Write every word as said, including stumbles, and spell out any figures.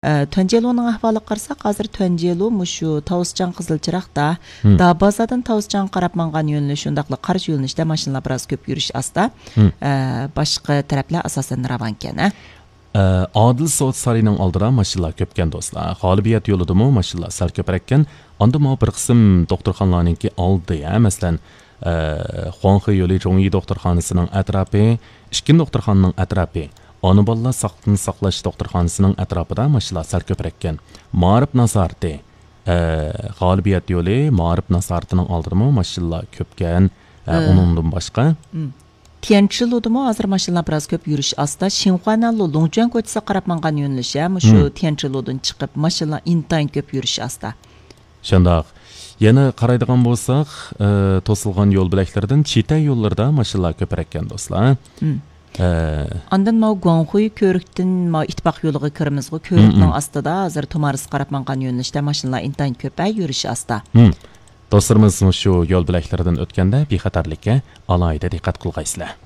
ئە، تۈەنجيېلۇنىڭ ئەھۋالىغا قارىساق، ھازىر تۈەنجيېلۇ مۇشۇ تاۋۇسچاڭ قىزىل چىراغدا، دابازادىن تاۋۇسچاڭغا قاراپ ماڭغان يۆنىلىش، شۇنداقلا قارشى يۆنىلىشتە ماشىنىلار بىراز كۆپ يۈرۈش ئاستا. ئە، باشقا تەرەپلەر ئاساسەن راۋانكەن، ھە؟ ئە، ئادىل سودا سارىيىنىڭ ئالدىدا ماشىنىلار كۆپكەن، دوستلار. غالىبىيەت يولىدىمۇ ماشىنىلار سەل كۆپرەككەن. ئاندىمۇ بىر قىسىم دوختۇرخانىلارنىڭكى ئالدى، ھە، مەسىلەن، ئە، خۇاڭخې يولى جۇڭيى دوختۇرخانىسىنىڭ ئەتراپى، ئىككىنچى دوختۇرخانىنىڭ ئەتراپى، ئانا بالىلار ساقلىقنى ساقلاش دوختۇرخانىسىنىڭ ئەتراپىدا ماشىنىلار سەل كۆپرەككەن. مائارىپ نازارىتى، ئە، غالىبىيەت يولى مائارىپ نازارىتىنىڭ ئالدىدىمۇ ماشىنىلار كۆپكەن. ئە، ئۇنىڭدىن باشقا، تيەنچىلۇدىمۇ ھازىر ماشىنىلار بىراز كۆپ يۈرۈش ئاستا. شىنخۇانەنلۇ لۇڭجۈەن كوچىسىغا قاراپ ماڭغان يۆنىلىش، ھە، مۇشۇ تيەنچىلۇدىن چىقىپ ماشىنىلار ئىنتايىن كۆپ يۈرۈش ئاستا. شۇنداق. يەنە قارايدىغان بولساق، ئە، توسۇلغان يول بۆلەكلىرىدىن چىتەي يوللىرىدا ماشىنىلار كۆپرەككەن، دوستلار. ئە، ئاندىن ماۋۇ گۇاڭخۇي كۆۋرۈكتىن ماۋۇ ئىتتىپاق يولىغا كىرىمىزغۇ، كۆۋرۈكنىڭ ئاستىدا ھازىر تۇمارىسقا قاراپ ماڭغان يۆنىلىشتە ماشىنىلار ئىنتايىن كۆپ، ھە، يۈرۈش ئاستا. دوستلىرىمىز مۇشۇ يول بۆلەكلىرىدىن ئۆتكەندە بىخەتەرلىككە ئالاھىدە دىققەت قىلغايسىلەر.